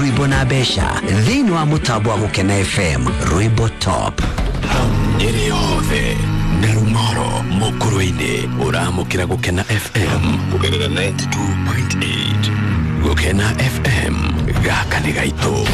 Rwimbo na mbeca thĩinĩ wa mũtambo wa Gũkena FM Rwimbo Top. Nyeri yothe na Rumoro Mukurwe-ini uramukira Gukena FM kugerera 92.8. Gukena FM gaka ni gaitu.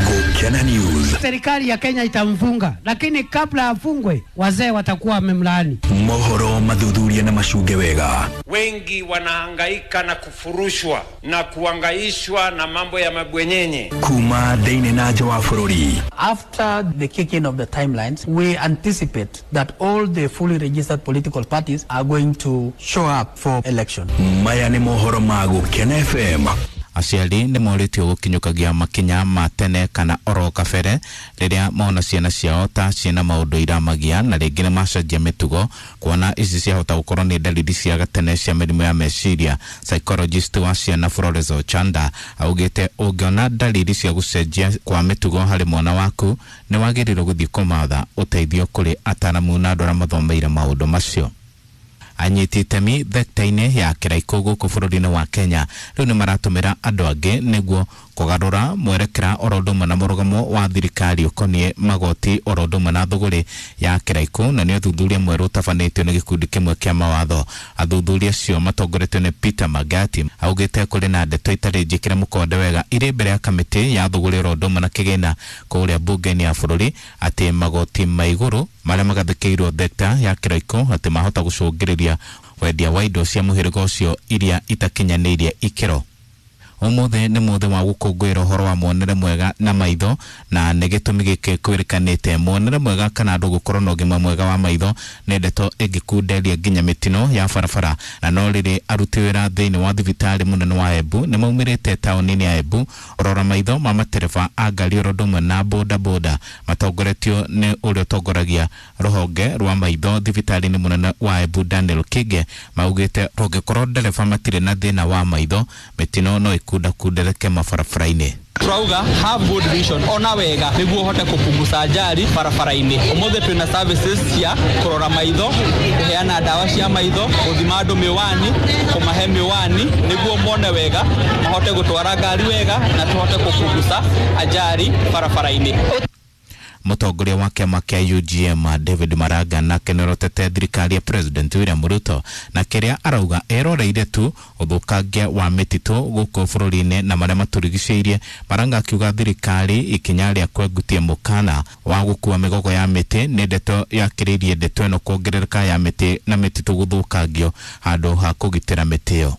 Gukena News. Serikali ya Kenya itamfunga, lakini kabla afungwe wazee watakuwa wamemlaani. Mohoro mathuthuria na macunge wega. Wengi wanahangaika na kufurushwa na kuangaishwa na mambo ya mabwenyenye. Kuma thĩinĩ na nja wa bũrũri. After the kicking of the timelines, we anticipate that all the fully registered political parties are going to show up for election. Maya nĩ mohoro ma Gukena FM. Aciari nĩ morĩtio gũkinyũkagia makinya ma tene kana oro kabere rĩrĩa mona ciana ciao ta ciĩna maũndũ iramagia na rĩngĩ nĩ macenjia mĩtugo, kuona ici ciahota gũkorwo nĩ dalili cia gatene cia mĩrimũ ya meciria. Psychologist wa ciana Flores Ochanda augĩte ũngĩona dalili cia gũcenjia kwa mĩtugo harĩ mwana waku nĩ wagĩrĩirwo gũthiĩ kũmatha ũteithio kũrĩ ataramu na andũ arĩa mathomeire maũndũ macio. Anyiti itemi thekta-inĩ ya kĩraikũ gũkũ bũrũri-inĩ wa Kenya rĩu nĩ maratũmĩra andũ angĩ nĩguo kũgarũra mwerekera oro ũndũ ũmwe na mũrũgamo wa thirikari ũkoniĩ magoti oro ũndũ ũmwe na thũgũrĩ ya kĩraikũ, na nĩ ũthuthuria mwerũ ũtabanĩtio nĩ gĩkundi kĩmwe kĩa mawatho. Athuthuria acio matongoretio nĩ Peter Magati augĩte kũrĩ na ndeto itarĩ njĩkĩre mũkonde wega irĩ mbere ya kamĩtĩ ya thũgũrĩ oro ũndũ ũmwe na kĩgĩna kũrĩa mbunge-inĩ ya bũrũri atĩ magoti ma igũrũ marĩa magathĩkĩirwo thekta ya kĩraikũ atĩ mahota gũcũngĩrĩria wendia wa indo cia mũhĩrĩga ũcio iria itakinyanĩirie ikĩro. Ũmũthĩ nĩ mũthĩ wa gũkũngũĩra ũhoro wa muonere mwega na maitho, na nĩ gĩtũmi gĩkĩ kwĩrĩkanĩte muonere mwega kana andũ gũkorwo na ũgima mwega wa maitho nĩ ndeto ĩngĩkunderia nginya mĩtino ya barabara. Na no rĩrĩ aruti wĩra thĩinĩ wa thibitarĩ mũnene wa Embu nĩ maumĩrĩte taũni-inĩ ya Embu ũrora maitho ma matereba a ngari oro ũndũ ũmwe na boda boda matongoretio nĩ ũrĩa ũtongoragia rũhonge rwa maitho thibitarĩ-inĩ mũnene wa Embu Daniel Kinge maugĩte rũngĩkorwo ndereba matirĩ na thĩna wa maitho mĩtino no kundereke mabarabara-inĩ. Turauga have good vision, ona wega niguo uhote kupunguza ajali barabara-inĩ. Ũmũthĩ twĩna services cia kũrora maitho, kũheana ndawa cia maitho, gũthima andũ miwani, kũmahe miwani niguo mone wega, mahote gũtwara ngari wega na tũhote kupunguza ajali barabara-inĩ. Mũtongoria wa kĩama kĩa UGM David Maraga nake nĩarotete thirikari ya President William Ruto na kĩrĩa arauga eroreire tu ũthũkangia wa mĩtitũ gũkũ bũrũri-inĩ na marĩa matũrigicĩirie. Maraga akiuga thirikari ikinya rĩa kwengutia mũkana wa gũkua mĩgogo ya mĩtĩ nĩ ndeto yakĩrĩirie ndeto ĩno kuongerereka ya mĩtĩ na mĩtitũ gũthũkangio handũ ha kũgitĩra mĩtĩ ĩyo.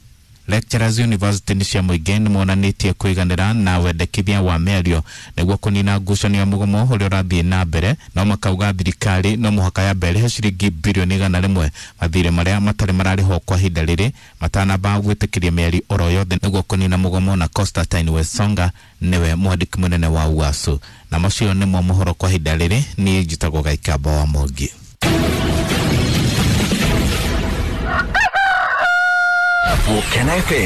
Lecturers University nĩ cia mũingĩ nĩ monanĩtie kũiganĩra na wendekithia wa mĩario nĩguo kũnina ngucanio ya mũgomo ũrĩa ũrathiĩ na mbere, no makauga thirikari no mũhaka yambe ĩrĩhe ciringi birioni 100 mathirĩ marĩa matarĩ mararĩhwo kwa ihinda rĩrĩ matanamba gwĩtĩkĩria mĩario oro yothe nĩguo kũnina mũgomo. Na Constantine Wesonga nĩwe mwandĩki mũnene wa UASU. Na macio nĩmo mohoro kwa ihinda rĩrĩ. Niĩ njĩtagwo Gaikamba wa Mwangi. Gukena FM.